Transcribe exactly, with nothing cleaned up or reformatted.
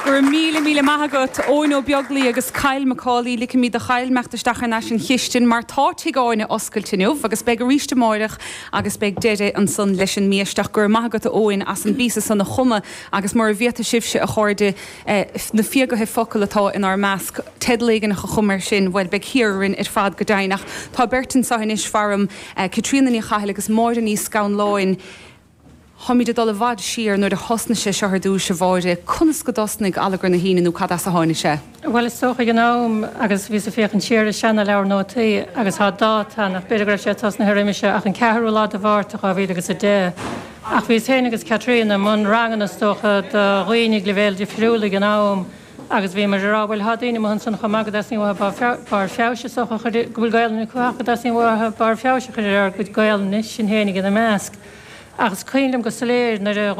Go raibh míle míle maith agat Eoin Ó Beaglaoich agus Kyle Macaulay ligfidh mé do Kyle imeacht isteach ar ais an chistin mar tá Tigh Áine oscailte inniu agus beidh arís amárach agus beidh deireadh ansan leis an mbiaisteach gur maith agat Eoin as an bpíosa san a chumadh agus mar a bhíata sibhse a chairde eh, na fiagaithe focal atá inár measc teideal éigin a chum air sin bhuel beidh thiarrin ar fad go deimhin Tá beirt anseo anois faram eh, Caitríona Ní Chathail agus Máire Ní Scanláin. Táimid ag dul i bhfad siar nuair a thosnaigh sé seo ar dtús a Mháire, conas go dtosnaigh Allagar na hAoine nó cad as a tháinig sé. Well is dócha an am agus bhí sa féachaint siar ar seanleabhar nótaí agus tá dáta nach b'fhéidir go raibh sé tosnaithe roimis ach an ceathrú lá de Mhárta dhá mhíle agus a deich. Ach bhí féin agus Caitríona i mbun ranganna is dócha do dhaoine leibhéil difriúla ag an am agus bhí mar rá bhfuil daoine an san chum agad as bar feabhas go bhfuil Gaelainn acu as bar feabhais a chur ar gcuid Gaelainne sin féin ina measc. Agus cuimhním go soiléir nuair a